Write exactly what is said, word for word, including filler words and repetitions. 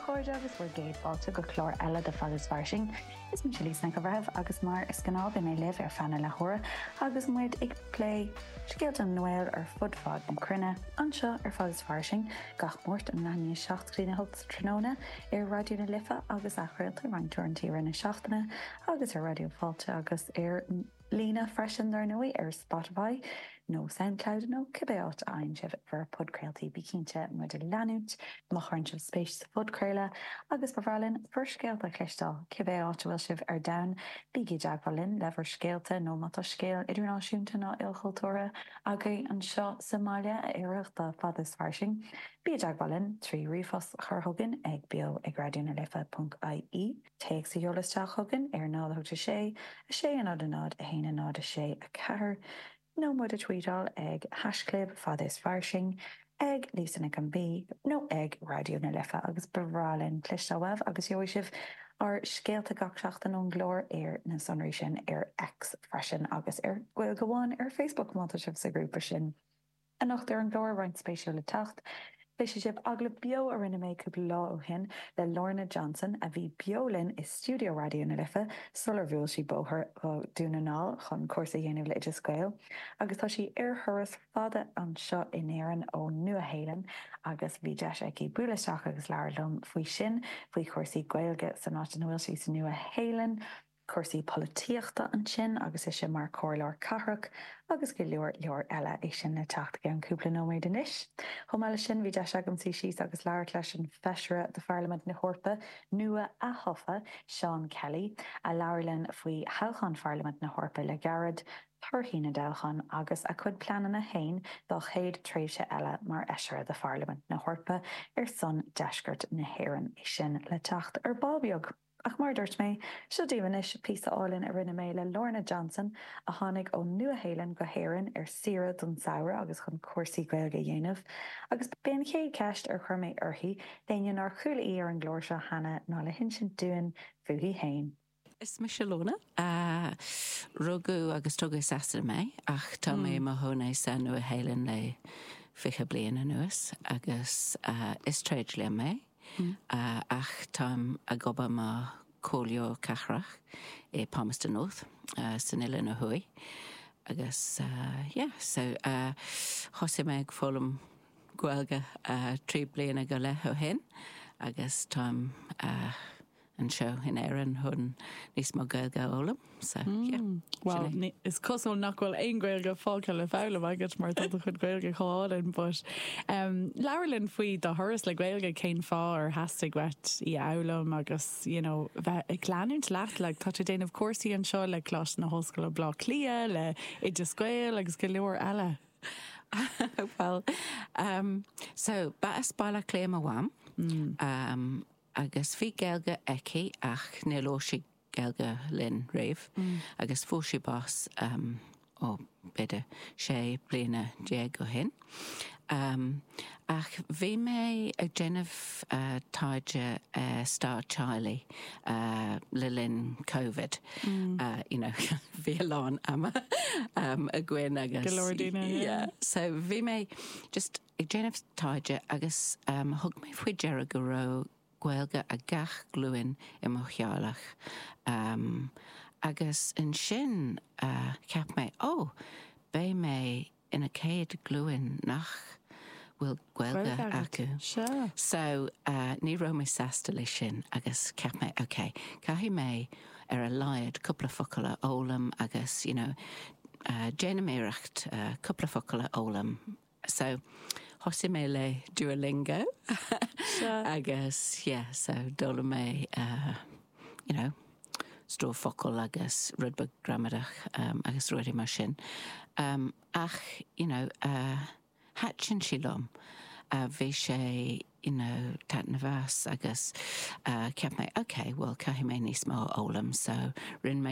chairde agus bhur gcéad fáilte go clár eile de Fad is Fairsing. Is mise Lisa Nic an Bhreithimh agus mar is gnáth beidh mé libh ar feadh na leathuaire agus muid ag plé scéalta na nGael ar fud fad na cruinne anseo ar Fad is Fairsing gach Máirt ón leath i ndiaidh a seacht go dtí a hocht tráthnóna ar Raidió na Life agus athchraolta roinnt uaireanta na seachtaine agus ar Raidió Fáilte agus ar líne freisin dar ndóigh ar Spotify nó SoundCloud nó cibé áit a fhaigheann sibh bhur bpodchraoltaí bí cinnte muid a leanúint má chuireann sibh spéis sa phodchraoladh agus ba bhreá linn bhur scéalta a chloisteáil cibé áit a bhfuil sibh ar domhan bígí i dteagmháil linn le bhur scéalta nó má tá scéal idirnáisiúnta nó ilchultúrtha agaibh anseo sa mbaile a oirfeadh do Fad is Fairsing. Bí i dteagmháil linn trí ríomhphost a chur chugainn ag beo ag raidió na life.ie. Téacs a sheoladh isteach chugainn ar náid a sé a sé a náid a náid a haon a náid a sé a ceathair nó muid a tweetáil ag haischlib fad is fairsing ag Lisa Nic an B nó ag Raidió na Life agus ba bhreá linn cloisteáil uaibh agus gheobhaidh sibh ár scéalta gach seachtain ón gclár ar na sonraí sin ar X freisin agus ar Gaeilge Amháin ar Facebook má tá sibh sa ghrúpa sin. Anocht ar an gclár roinnt spéisiúil le teacht. Cloisfidh sibh agallamh beo a rinne mé cúpla lá ó shin le Lorna Johnson a bhí beo linn i stiúideo Raidió na Life sular bhuail sí bóthar go Dún na nGall chun cúrsa a dhéanamh le Oideas Gael, agus tá sí ar thuras fada anseo in Éirinn ó Nua-Shéalainn agus bhí deis aici bualadh isteach agus labhairt liom faoi sin faoi chúrsaí Gaeilge san áit ina bhfuil sí sa Nua-Shéalainn, cúrsaí polaitíochta ansin agus ise mar chomhairleoir cathrach agus go leor leor eile é sin le teacht i gceann cúpla nóiméad anois. Chomh maith leis sin bhí deis agam suí síos agus labhairt leis an bhfeisire de Pharlaimint na hEorpa nua atofa Seán Kelly a labhair linn faoi thoghchán Pharlaimint na hEorpa le gairid, torthaí na dtoghchán agus a chuid pleananna féin dá chéad tréimhse eile mar fheisire de Pharlaimint na hEorpa ar son deisceart na hÉireann é sin le teacht ar ball beag. Ach mar dúirt mé, seo daoibh anois píosa álainn a rinne mé le Lorna Johnson a tháinig ó Nua-Shéalainn go hÉirinn ar saoire don samhradh agus chun cúrsaí Gaeilge a dhéanamh, agus b'é an chéad cheist ar chuir mé uirthi d'éinne nár chuala í ar an gclár seo cheana ná le hinsint dúinn fúithi féin. Is mise Lorna uh, rugadh agus tógadh i Sasana mé ach tá mé i mo chónaí sa Nua-Shéalainn le fiche bliain anuas agus uh, is tréidlia mé. Mm. Uh, ach táim ag obair mar chomhairleoir cathrach i Palmerston North uh, san Oileán Thuaidh. agus uh, yeah, so uh, thosaigh mé ag foghlaim Gaeilge uh, trí bliana go leith ó shin agus táim uh, anseo in Éirinn chun níos mó Gaeilge a fhoghlaim so mm. yeah, Well is cosúil nach bhfuil aon Ghaeilge fágtha le foghlaim agat mar tá chun Gaeilge cháin but um, labhair linn faoi do thuras le Gaeilge cén fáth ar theastaigh uait í a fhoghlaim agus you know, bheith ag leanúint leat le tá tú déanamh cúrsaí anseo le Coláiste na hOllscoile Baile Átha Cliath le Oideas Gael agus go leor eile. well um, so ba as Baile Átha Cliath mo mham mm. um, agus bhí Gaeilge aici ach níor labhair sí Gaeilge linn riamh mm. agus fuair sí bás um, ó b'fhéidir sé bliana déag ó shin. Um, ach bhí mé ag déanamh uh, taighde uh, stair teaghlaigh uh, le linn COVID. Mm. Uh, you know, bhí a lán ama um, againn agus Go leor daoine, yeah. yeah. So bhí mé just ag déanamh taighde agus um, thug mé faoi deara go raibh Gaeilge ag gach glúin i mo theaghlach. Um, agus ansin uh, cheap mé ó, beidh mé ina céad glúin nach bhfuil Gaeilge Gaeilge agat. acu. Sure. So uh, ní raibh mé sásta leis sin agus cheap mé okay, caithfidh mé ar a laghad cúpla focal a fhoghlaim agus you know, uh, déanaim iarracht uh, cúpla focal a fhoghlaim. So thosaigh mé le Duolingo Sure. agus yeah, so d'fhoghlaim mé uh, you know, stór focal agus rud beag gramadach um, agus rudaí mar sin. Um, ach you know, uh, thaitin sé liom. Uh, bhí sé you know, taitneamhach agus uh, cheap mé okay, well caithfidh mé níos mó a fhoghlaim, so rinne mé